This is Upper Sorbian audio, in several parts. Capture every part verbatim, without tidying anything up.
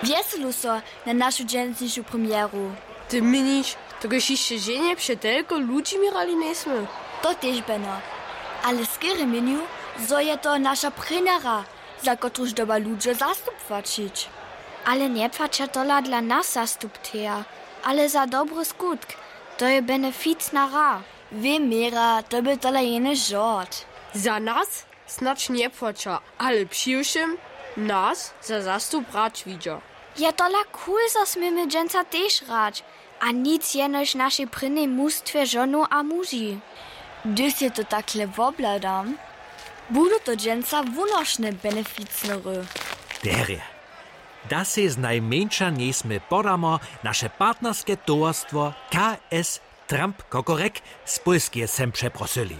Wjeselu so na našu dźensnišu premjeru. Ty měniš, dokelž hišće ženje před telko ludźimi hrali njejsmy? To tež beno. Ale skerje měnju, zo je to naša prěnjera, za kotruž dyrba ludźo zastup płaćić. Ale njepłaća tola dla nas zastupteja, ale za dobry skutk. To je beneficna hra. Wě měra, to by tola jene žort. Za nas snadź njepłaća, ale přiwšěm nas za zastup hrać widźa. Je tola cool, zo směmy dźensa tež hrać. A nic jenož našej prěnjej mustwje žonow a muži. Hdyž sej to takle wobhladam, budu to dźensa wunošne beneficnery. Derje, da sej znajmjeńša njejsmy podamo naše partnerske towarstwo K S Trump Kokorek z Pólskeje sem přeprosyli.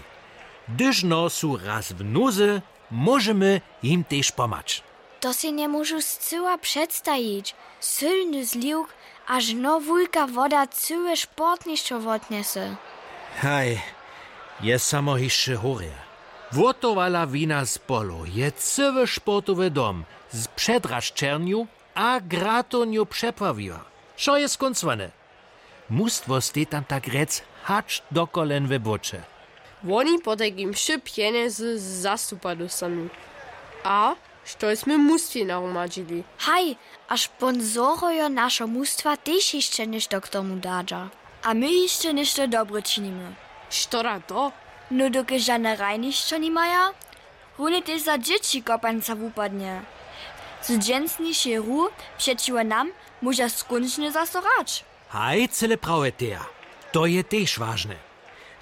Hdyž no su raz w nuzy, móžemy jim tež pomhać. To sej njemóžu scyła předstajić. Sylny zliwk, a žno wulka woda cyłe sportnišćo wotnjese. Haj, je samo hišće horje. Wotowala wina z polow je cyły sportowy dom z předrašćernju a gratownju přepławiła. Wšo je skóncowane. Mustwo stej tam tak rjec hač do kolen w błoće. Woni potajkim wšě pjenjezy z zastupa dóstanu. A štož smy mustwje narumadźili. Haj, a sponsorojo našeho mustwa tež hišće něšto k tomu dadźa. A my hišće něšto dobre činimy. Što da to? No dokelž žane hrajnišćo nimaja, runje tež za dźěći kopańca wupadnje. Z dźensnišej hru přećiwo nam móža skónčnje zaso hrać. Haj, cyle prawje, teja. To je tež wažne.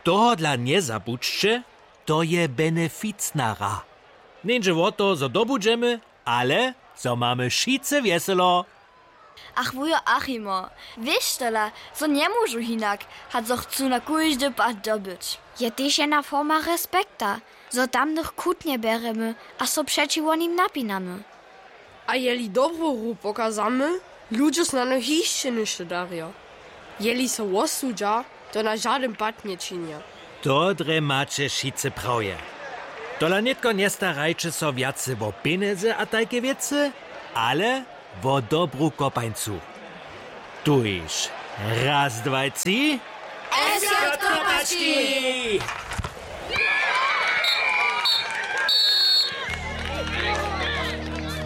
Tohodla njezabudźće, to je beneficna hra. Njeńdźe wo to, zo dobudźemy, ale zo mamy wšitcy wjeselo. Ach wujo Achimo, wěš tola, zo njemóžu hinak, hač zo chcu na kóždy pad dobyć. Je tež jedna forma respekta, zo tamnych chutnje bjerjemy a so přećiwo nim napinamy. A jeli dobru hru pokazamy, ludźo snano hišće něšto darjo. Jeli so wosudźa, to na žadyn pad nječinja. To drje maće wšitcy prawje. Tola nětko njestarajće so wjace wo pjenjezy a tajke wěcy, ale wo dobru kopańcu. Tuž, raz, dwaj, tři. S J Kopački!